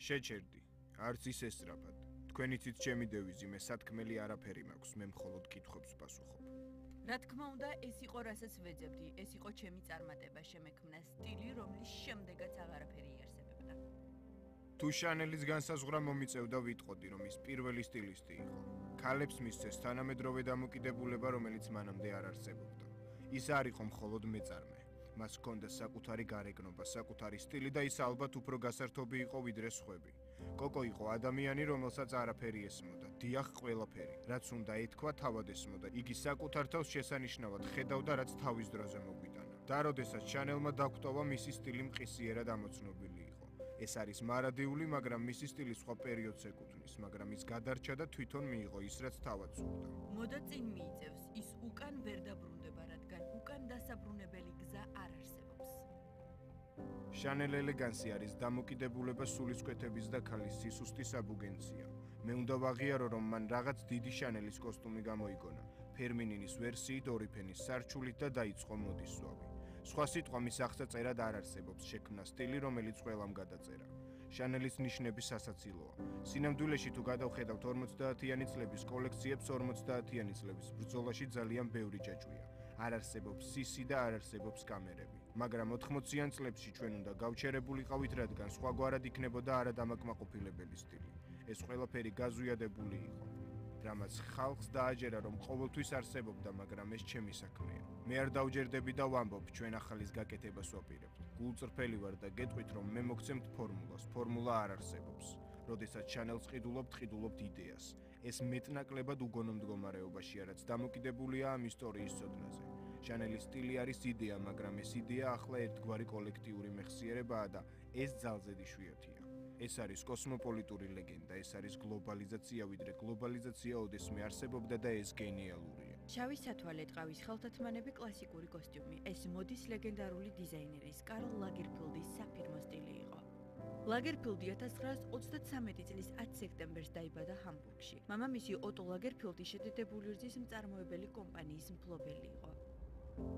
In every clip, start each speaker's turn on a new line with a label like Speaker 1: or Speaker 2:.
Speaker 1: შეჩერდი, არც ის ესწრაფად. თქვენი თვით ჩემი დევიზი, მე სათქმელი არაფერი მაქვს, მე მხოლოდ კითხვებს პასუხობ.
Speaker 2: რა თქმა უნდა, ეს იყო რასაც ვეძებდი, ეს იყო ჩემი წარმატება, შემექმნა სტილი, რომლის შემდეგაც აღარაფერი იარსებებდა.
Speaker 1: თუ შანელის განსაზღვრა მომიწევდა ვიტყოდი, რომ ის პირველი სტილისტი იყო. ქალებს მისცეს თანამედროვე დამოკიდებულება, რომელიც მანამდე არ არსებობდა. ის არ იყო მხოლოდ მეწარმე. მას ჰქონდა საკუთარი გარეგნობა, საკუთარი სტილი და ის ალბათ უფრო გასართობი იყო ვიდრე სხვები. კოკო იყო ადამიანი, რომელსაც არაფერი ესმოდა, დიახ ყველაფერი, რაც უნდა ეთქვა, თავად ესმოდა. იგი საკუთარ თავს შესანიშნავად ხედავდა, რაც თავის დროზე მოგვიტანა. და როდესაც შანელმა დაგვტოვა, მისი სტილი მყისიერად ამოცნობილი იყო. ეს არის მარადიული, მაგრამ მისი სტილი სხვა პერიოდს ეკუთვნის, მაგრამ ის გადარჩა და თვითონ მიიღო ის, რაც თავად სურდა.
Speaker 2: მოდა წინ მიიწევს, ის უკან ვერ დაბრუნდება, რადგან უკან დასაბრუნებელი გზა არ არსებობს.
Speaker 1: შანელ ელეგანსი არის დამოკიდებულება სულისკვეთების და ქალის სისუსტის აბუგენცია. მე უნდა ვაღიარო, რომ მან რაღაც დიდი შანელის კოსტუმი გამოიგონა, ფერმინინის ვერსიით ორი ფენის სარჩულით და დაიწყო მოდის სვავი. სხვა სიტყვა მის აღსაწერად არ არსებობს, შექმნა სტილი, რომელიც ყველამ გადაწერა. შანელის ნიშნები სასაცილოა. სინამდვილეში თუ გადავხედავთ 50-იანი წლების კოლექციებს, 50-იანი წლების ბრძოლაში ძალიან ბევრი ჯაჭვია. არ არსებობს სისი და არ არსებობს კამერები. მაგრამ 80-იან წლებში ჩვენ უნდა გავჩერებულიყავით, რადგან სხვაგვარად იქნებოდა არადამაკმაყოფილებელი სტილი. ეს ყველაფერი გაზვიადებული იყო. რამაც ხალხს დააჯერა, რომ ყოველთვის არსებობდა, მაგრამ ეს ჩემი საქმეა. მე არ დავჯერდები და ვამბობ, ჩვენ ახალის გაკეთებას ვაპირებთ. გულწრფელი ვარ და გეტყვით, რომ მე მოგცემთ ფორმულას. ფორმულა არ არსებობს. როდესაც შანელს ყიდულობთ იდეას. ეს მეტნაკლებად უგონო მდგომარეობაშია, რაც დამოკიდებულია ამ ისტორიის ცოდნაზე. შანელის სტილი არის იდეა, მაგრამ ეს იდეა ახლა ერთგვარი კოლექტიური მეხსიერებაა და ეს ძალზედ იშვიათია. ეს არის კოსმოპოლიტური ლეგენდა, ეს არის გლობალიზაცია, ვიდრე გლობალიზაცია ოდესმე არსებობდა და ეს გენიალურია.
Speaker 2: შავი სათვალე ტყავის ხელთათმანები კლასიკური კოსტიუმი. ეს მოდის ლეგენდარული დიზაინერის კარლ ლაგერფილდის საფირმო სტილი იყო. ლაგერფილდი 1933 წლის 10 სექტემბერს დაიბადა ჰამბურგში. მამამისი ოტო ლაგერფილდი შედედებული რძის მწარმოებელი კომპანიის მფლობელი იყო.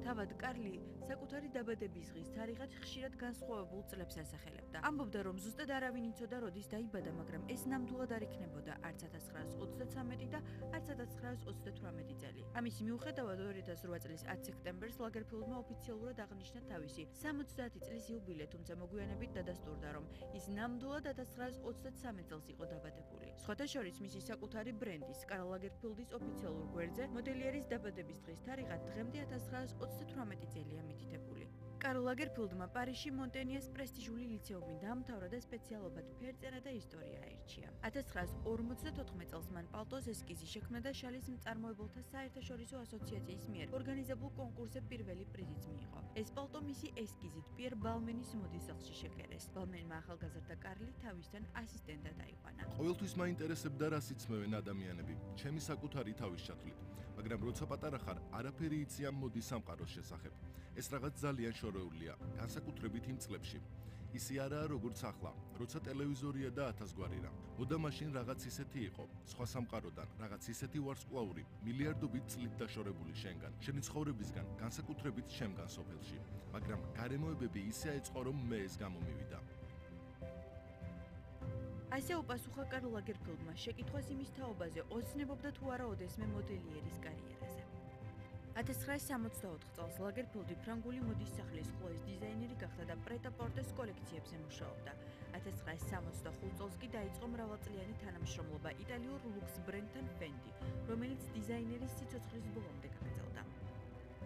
Speaker 2: თავად კარლი საკუთარი დაბადების დღის თარიღად ხშირად განსხვავებულ წლებს ასახელებდა. ამბობდა, რომ ზუსტად არავინ იცოდა, როდის დაიბადა, მაგრამ ეს ნამდვილად არ იქნებოდა არც 1933 და არც 1938 წელი. ამის მიუხედავად 2008 წლის 10 სექტემბერს ლაგერფილდმა ოფიციალურად აღნიშნა თავისი 70 წლის იუბილე, თუმცა მოგვიანებით დადასტურდა, რომ ის ნამდვილად 1923 წელს იყო დაბადებული. სხვათა შორის მისი საკუთარი ბრენდის, კარლ ლაგერფილდის ოფიციალურ გვერდზე მოდელიერის დაბადების დღის თარიღად დღემდე 1938 წელია მითითებული. კარლ ლაგერფილდმა პარიზში მონტენიეს პრესტიჟული ლიცეუმი დაამთავრა და სპეციალობად ფერწერა და ისტორია აირჩია. 1954 წელს მან პალტოს ესკიზი შექმნა და შალის მწარმოებელთა საერთაშორისო ასოციაციის მიერ ორგანიზებულ კონკურსზე პირველი პრიზიც მიიღო. ეს პალტო მისი ესკიზით პიერ ბალმენის მოდის სახლში შეკერეს. ბალმენმა ახალგაზრდა კარლი თავისთან ასისტენტად აიყვანა.
Speaker 3: ყოველთვის მაინტერესებდა რას იცმევენ ადამიანები, ჩემი საკუთარი თავის ჩათვლით, მაგრამ როცა პატარა ხარ, არაფერი იცი ამ მოდის სამყაროს შესახებ. ეს რაღაც ძალიან შორეულია, განსაკუთრებით იმ წლებში. ისი არაა როგორც ახლა, როცა ტელევიზორია და 1000 გვარი რამ. მოდა მაშინ რაღაც ისეთი იყო, სხვა სამყაროდან, რაღაც ისეთი ვარსკვლავური, მილიარდობით წლით დაშორებული შენგან, შენი ცხოვრებისგან, განსაკუთრებით შემგან სოფელში. მაგრამ გარემოებები ისე აეწყო, რომ მე ეს გამომივიდა.
Speaker 2: ასე უპასუხა კარლ ლაგერფილდმა შეკითხვას იმის თაობაზე, ოცნებობდა თუ არა ოდესმე მოდელიერის კარიერაზე. 1964 წელს ლაგერფილდი ფრანგული მოდის სახლის ხლოის დიზაინერი გახდა და პრეტა-პორტეს კოლექციებზე მუშაობდა. 1965 წელს კი დაიწყო მრავალწლიანი თანამშრომლობა იტალიურ ლუქს ბრენდთან ფენდი, რომელიც დიზაინერის სიცოცხლის ბოლომდე გაგრძელდა.